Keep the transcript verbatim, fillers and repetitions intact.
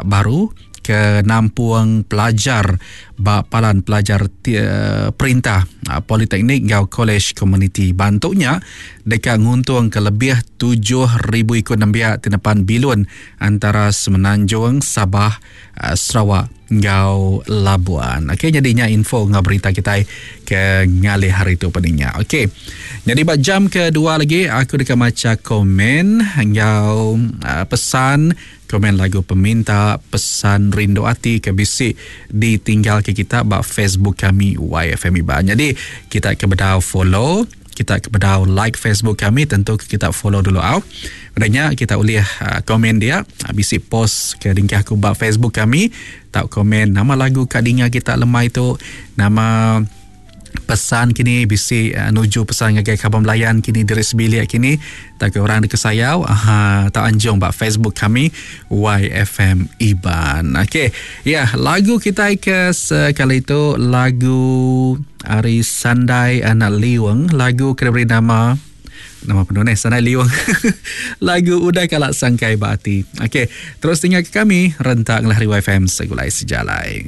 baru ke nampung pelajar ba palan pelajar perintah, politeknik enggau kolej komuniti. Bantu nya deka nguntungka lebih tujuh ribu iku nembiak ti nepan bilun antara Semenanjung, Sabah, Sarawak enggau Labuan. Okey, nyadi nya info enggau berita kitai ke ngalih hari tu peninga. Okey. Nyadi ba jam kedua lagi aku deka macha komen enggau pesan komen lagu peminta pesan rindu ati ke bisi ditinggal ke kita ba Facebook kami Y F M Iban. Jadi kita ke bedau follow, kita ke bedau like Facebook kami, tentu ke kita follow dulu au. Udahnya kita boleh uh, komen dia, uh, bisi post ke dingkah aku ba Facebook kami, tak komen nama lagu kat dinga kita lemai tu, nama pesan kini bisi uh, nuju pesan ngagai kaban belayan kini diri sebilik kini tak ke orang dikesayau, aha, tak anjung ba Facebook kami Y F M Iban. Okey, ya, lagu kita ke sekali itu lagu Ari Sandai Anak Liung, lagu kena beri nama nama penuh ni Sandai Liung. Lagu Udah Kalak Sangkai Ba Ati. Okey, terus tinggal ke kami rentak ngelahri Y F M Segulai Sejalai.